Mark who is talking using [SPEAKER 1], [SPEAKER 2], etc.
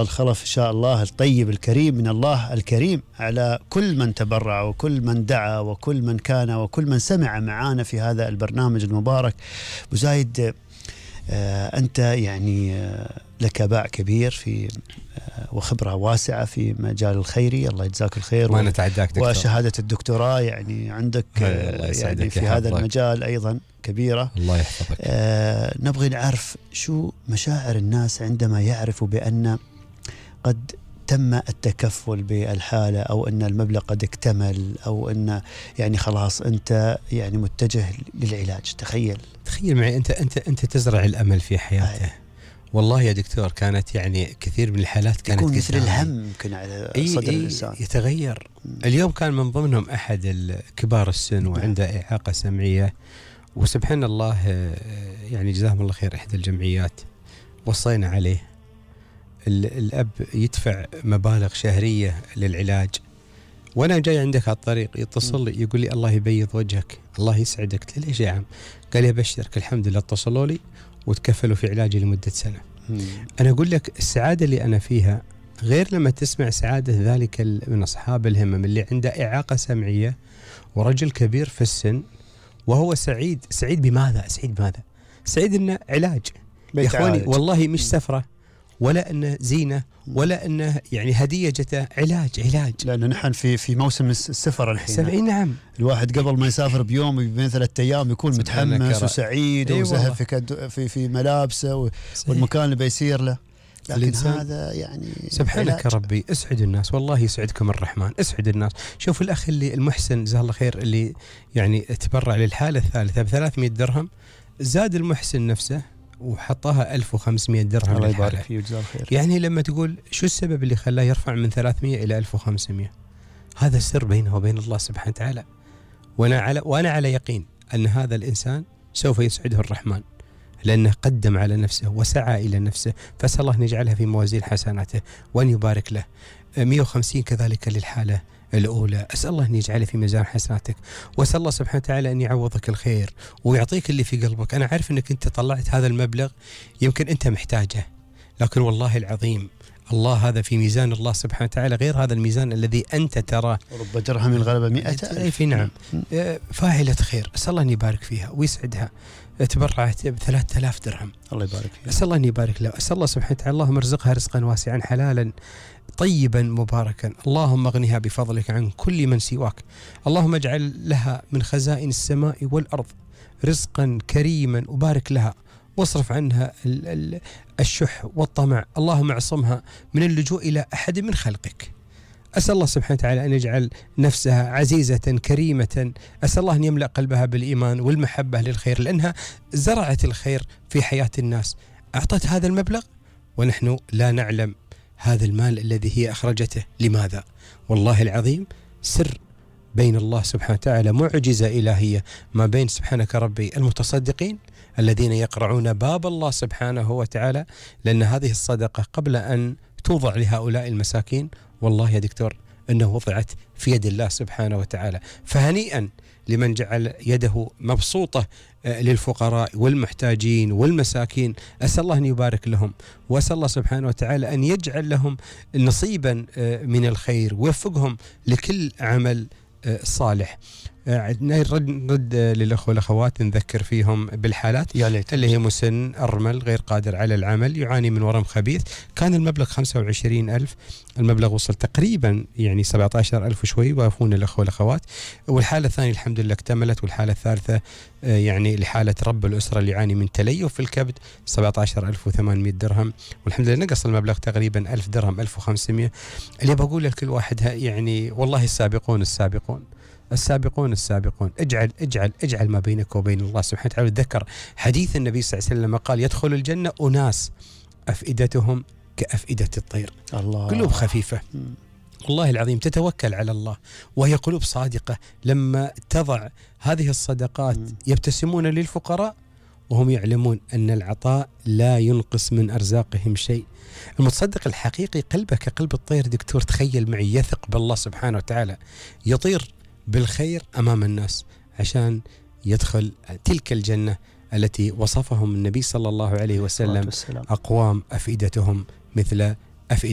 [SPEAKER 1] الخلف إن شاء الله الطيب الكريم من الله الكريم على كل من تبرع وكل من دعا وكل من كان وكل من سمع معانا في هذا البرنامج المبارك. أبو زايد، أنت يعني لك باع كبير في وخبرة واسعة في مجال الخيري، الله يجزاك الخير.
[SPEAKER 2] ما نتعداك دكتور.
[SPEAKER 1] وشهادة الدكتوراه يعني عندك يعني في هذا المجال أيضا كبيرة،
[SPEAKER 2] الله يحفظك.
[SPEAKER 1] نبغي نعرف شو مشاعر الناس عندما يعرفوا بأن قد تم التكفل بالحالة، أو أن المبلغ قد اكتمل، أو أن يعني خلاص أنت يعني متجه للعلاج. تخيل
[SPEAKER 2] معي أنت تزرع الأمل في حياته. والله يا دكتور كانت يعني كثير من الحالات كانت
[SPEAKER 1] يكون مثل الهم يمكن على صدر الإنسان
[SPEAKER 2] يتغير. اليوم كان من ضمنهم أحد الكبار السن وعنده إعاقة سمعية، وسبحان الله يعني جزاهم الله خير إحدى الجمعيات وصينا عليه الأب يدفع مبالغ شهرية للعلاج، وأنا جاي عندك على الطريق يتصل لي يقول لي الله يبيض وجهك الله يسعدك. قلت له ليش يا عم؟ قال لي أبشرك الحمد لله اتصلوا لي وتكفلوا في علاجي لمدة سنة. أنا أقول لك السعادة اللي أنا فيها غير لما تسمع سعادة ذلك من أصحاب الهمم اللي عنده إعاقة سمعية ورجل كبير في السن وهو سعيد. سعيد بماذا؟ سعيد إنه علاج يا إخواني، والله مش سفرة ولا أنه زينة ولا أنه يعني هدية جته، علاج.
[SPEAKER 1] لأنه نحن في موسم السفر الحين.
[SPEAKER 2] نعم.
[SPEAKER 1] الواحد قبل ما يسافر بيوم بين 3 أيام يكون متحمس وسعيد وزهف في ملابسه والمكان اللي بيسير له، لكن هذا يعني
[SPEAKER 2] سبحانك يا ربي. اسعد الناس، والله يسعدكم الرحمن، اسعد الناس. شوف الأخ اللي المحسن جزاه الله خير اللي يعني تبرع للحالة الثالثة ب300 درهم، زاد المحسن نفسه وحطها 1500 درهم.
[SPEAKER 1] الله يبارك فيه وجزاه الخير.
[SPEAKER 2] يعني لما تقول شو السبب اللي خلاه يرفع من 300 إلى 1500، هذا السر بينه وبين الله سبحانه وتعالى. وأنا على يقين أن هذا الإنسان سوف يسعده الرحمن، لأنه قدم على نفسه وسعى إلى نفسه، فأسأل الله أن يجعلها في موازين حسناته وأن يبارك له. 150 كذلك للحالة الأولى، أسأل الله أن يجعله في ميزان حسناتك، وأسأل الله سبحانه وتعالى أن يعوضك الخير ويعطيك اللي في قلبك. أنا عارف أنك أنت طلعت هذا المبلغ يمكن أنت محتاجه، لكن والله العظيم الله هذا في ميزان الله سبحانه وتعالى غير هذا الميزان الذي أنت تراه.
[SPEAKER 1] رب درهم الغلبة 100,000.
[SPEAKER 2] نعم. فاعلة خير، أسأل الله أن يبارك فيها ويسعدها. تبرعت ب3,000 درهم،
[SPEAKER 1] الله يبارك فيها.
[SPEAKER 2] أسأل الله أن يبارك له. أسأل الله سبحانه وتعالى اللهم ارزقها رزقا واسعا حلالا طيبا مباركا. اللهم اغنها بفضلك عن كل من سواك. اللهم اجعل لها من خزائن السماء والأرض رزقا كريما وبارك لها، واصرف عنها الشح والطمع. اللهم اعصمها من اللجوء إلى أحد من خلقك. أسأل الله سبحانه وتعالى أن يجعل نفسها عزيزة كريمة. أسأل الله أن يملأ قلبها بالإيمان والمحبة للخير، لأنها زرعت الخير في حياة الناس. أعطت هذا المبلغ ونحن لا نعلم هذا المال الذي هي أخرجته لماذا. والله العظيم سر بين الله سبحانه وتعالى، معجزة إلهية ما بين سبحانك ربي المتصدقين الذين يقرعون باب الله سبحانه وتعالى، لأن هذه الصدقة قبل أن توضع لهؤلاء المساكين والله يا دكتور أنه وضعت في يد الله سبحانه وتعالى. فهنيئا لمن جعل يده مبسوطة للفقراء والمحتاجين والمساكين. أسأل الله أن يبارك لهم، وأسأل الله سبحانه وتعالى أن يجعل لهم نصيبا من الخير ويوفقهم لكل عمل صالح. نرد للأخوة والأخوات نذكر فيهم بالحالات اللي هي مسن، أرمل، غير قادر على العمل، يعاني من ورم خبيث. كان المبلغ 25,000، المبلغ وصل تقريبا يعني 17,000 وشوي، وافون الأخوة والأخوات. والحالة الثانية الحمد لله اكتملت، والحالة الثالثة يعني لحالة رب الأسرة اللي يعاني من تليف في الكبد 17,800 درهم، والحمد لله نقص المبلغ تقريبا 1000 درهم 1500. اللي بقول لكل واحد يعني والله السابقون اجعل ما بينك وبين الله سبحانه وتعالى. تذكر حديث النبي صلى الله عليه وسلم قال يدخل الجنة أناس أفئدتهم كأفئدة الطير، الله. قلوب خفيفة والله العظيم تتوكل على الله، وهي قلوب صادقة. لما تضع هذه الصدقات يبتسمون للفقراء وهم يعلمون أن العطاء لا ينقص من أرزاقهم شيء. المتصدق الحقيقي قلبه كقلب الطير دكتور، تخيل معي، يثق بالله سبحانه وتعالى، يطير بالخير أمام الناس عشان يدخل تلك الجنة التي وصفهم النبي صلى الله عليه وسلم أقوام أفئدتهم مثل أفئدة.